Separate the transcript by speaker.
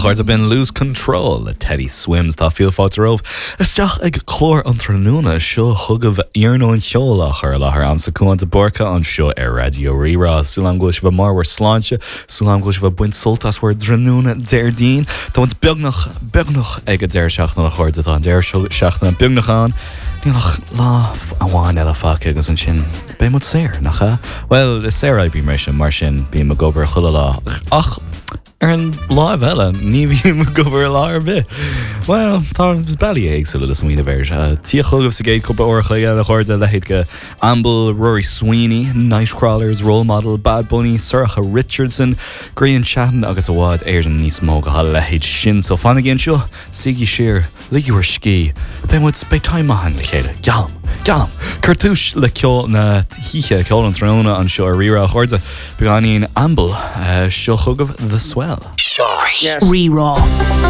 Speaker 1: chairde, b'in Lose Control le Teddy Swims. Tá fíor fáilte romhaibh isteach ag clár an tráthnóna. Seo chugaibh iarnóin cheoil á chur i láthair a'msa Cúán de Búrca anseo ar Raidió Rí-Rá. Súil a'm go bhfuil sibh i mbarr bhur sláinte, súil a'm go bhfuil sibh ag baint sult as bhur dtráthnóna Déardaoin. Tá muid beagnach, beagnach ag an deireadh seachtaine a chairde, tá an deireadh seachtaine beagnach ann. Níl ach lá amháin eile fágtha agus ansin beidh muid saor, nach ea? Bhuel, is saoroibrí mise, mar sin bím ag obair chuile lá. Ach ar an láimh eile, ní bhím ag obair lá ar bith. Bhuel, tá bealaí éagsúla le smaoineamh air. Tíocht chugaibh sa gcéad cúpla uair a chloig eile, a chairde, leithéid de Amble, Rory Sweeney, Nightcrawlers, Role Model, Bad Bunny, Sorcha Richardson, Grian Chatten agus i bhfad Éireann níos mó dá leithéid sin. So fanaigí anseo, suígí siar, Ligigí bhur scíth. Beidh muid, beidh time maith againn le chéile. Geallaim. Geallaim! Cuir tús le ceol na hoíche, ceol an tráthnóna anseo ar Rí-Rá, a chairde. Beagáinín Amble, seo chugaibh The Swell.
Speaker 2: Rí-Rá.